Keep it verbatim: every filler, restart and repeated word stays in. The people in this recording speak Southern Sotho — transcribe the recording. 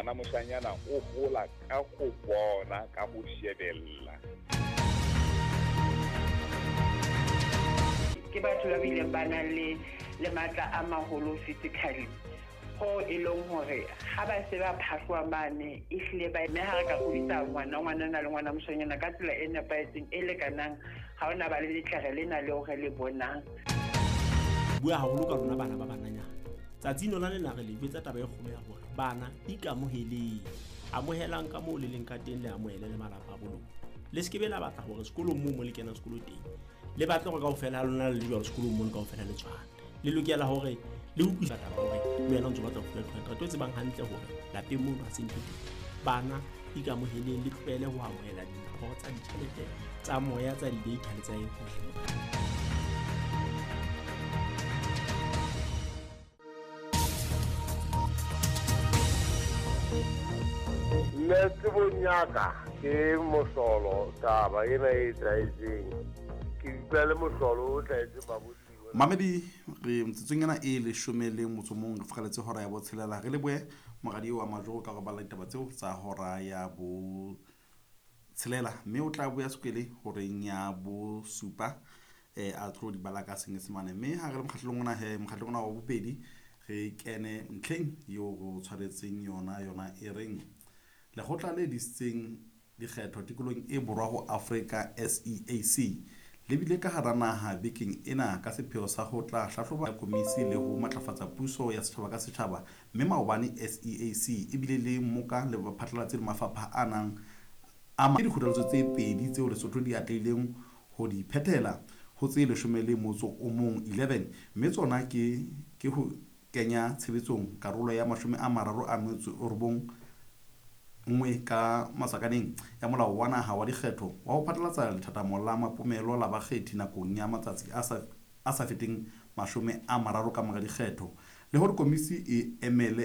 Ngwana moshanyana o hola ka ho bona, ka ho shebella. Ke batho ba bileng ba nang le le matla a maholo physically. Ho e leng hore ha ba se ba phahloa mane ehlile ba mme ha re ka hodisa ngwana ngwanana le ngwana moshanyana ka tsela e nepahetseng e lekanang, ha ona ba le letlere lena leo re le bonang. Bua haholo ka rona bana ba bananyana. Tsatsing lona lena re le jwetsa taba e kgolo ya hore bana ikamoheleng. Amohelang ka moo le leng ka teng, le amohele le malapa a bo lona. Le se ke be la batla hore sekolong moo mo le kenang sekolo teng, le batle hore kaofela ha lona le le jwalo sekolong mono kaofela le tshwane. Le lokela hore le utlwisisa taba hore le wena o ntso batla ho fuwa two hundred, o tsebang hantle hore lapeng mono ha se ntho teng. Bana ikamoheleng, le tlohele ho amohela dimpho tsa ditjhelete, tsa moya, tsa di-data le tsa eng hohle. Nna tsebong ya ka ke mohlolo taba ena e etsahetseng. Ke utlwa le mohlolo o hlahetseng babusi. Mamedi re metsotsong ena e leshome le motso mong re furaletse hora ya botshelela. Re lebohe moradi wa Majoro ka go bala ditaba tseo tsa hora ya botshelela, mme o tla boya sekwele horeng ya bosupa eh a tlo di bala ka Senyesemane. Mme ha re le mokgahlelong ona he, mokgahlelong ona wa bobedi, re kene ntlheng eo re o tshwaretseng yona, yona e reng lekgotla le disitseng dikgetho tikolohong e borwa ho Afrika S E A C le bile ka hara naha bekeng ena ka sepheo sa ho tla hlahloba komisi le ho matlafatsa puso ya setjhaba ka setjhaba. Mme maobane S E A C e bile le mmoka le baphatlalatsi le mafapha a nang a ma-, ke dikgothaletso tse pedi tseo Lesotho di atlehileng ho di phethela ho tse leshome le motso o mong eleven, mme tsona ke, ke ho kenya tshebetsong karolo ya mashome a mararo a metso e robong nngwe ka masakaneng ya molao wa naha wa dikgetho wa ho phatlalatsa lethathamo la mapomelo la bakgethi nakong ya matsatsi a sa, a sa feteng mashome a mararo ka mora dikgetho, le hore komisi e emele